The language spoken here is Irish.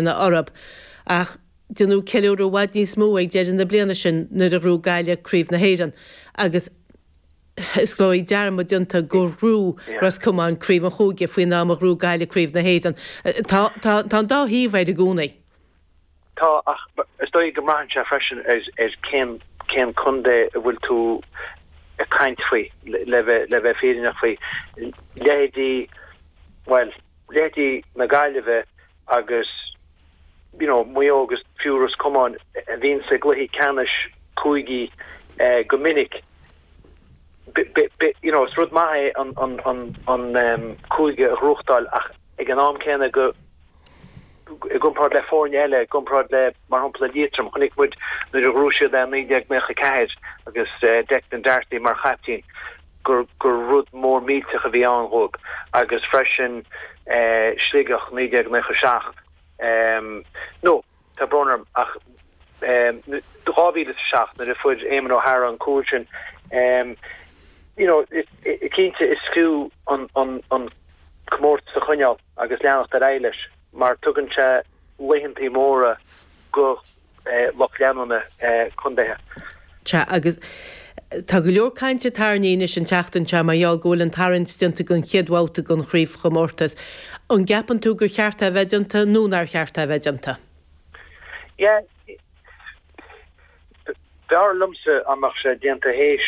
Orthu. Ach déanadh ceiliúradh i bhfad níos mó ag deireadh na bliana sin nuair a ghnóthaigh Gaillimh Craobh na hÉireann agus is dóigh dearmad déanta gur ghnóthaigh Ros Comáin Craobh an Chúige faoin am a ghnóthaigh Gaillimh Craobh na hÉireann. Tá tá tá an dá thaobh air i gcónaí. Tá, ach is dóigh go mbraitheann sé freisin ar ar cén cén contae a bhfuil tú ag caint faoi, le bheith le bheith fírinneach faoi. Leithéidí, bhuel, leithéidí na Gaillimhe agus you know Maigh Eo agus fiú Ros Comáin a bhíonn sa gcluichí ceannais cúigí go minic. You know is rud maith é an an an an cúige a ghnóthachtáil ach ag an am céanna go i gcomparáid le foirne eile, i gcomparáid le mar shampla Liatroim, chonaic muid nuair a ghnóthaigh siad é i 1994 agus Declan Darcy mar chaiptín. gur gur rud mór millteach a bhí ann dhóibh agus freisin Sligeach 1997 nó tá brón orm ach 2007 nuair a fuair Éamon O'Hara an cúl sin you know cinnte is fiú an an an comórtas a choinneáil agus leanacht ar aghaidh leis mar tugann sé laethantaí móra go lucht leanúna contaetha. Sea, agus tá go leor cainte tarraingthe anois an tseachtain seo mar gheall go bhfuil an tarraingt déanta don chéad bhabhta den chraobhchomórtas. An gceapann tú gur cheart é a bheith déanta nó nár cheart é a bheith déanta? Yeah, b'fhearr liomsa dá mbeadh sé déanta théis.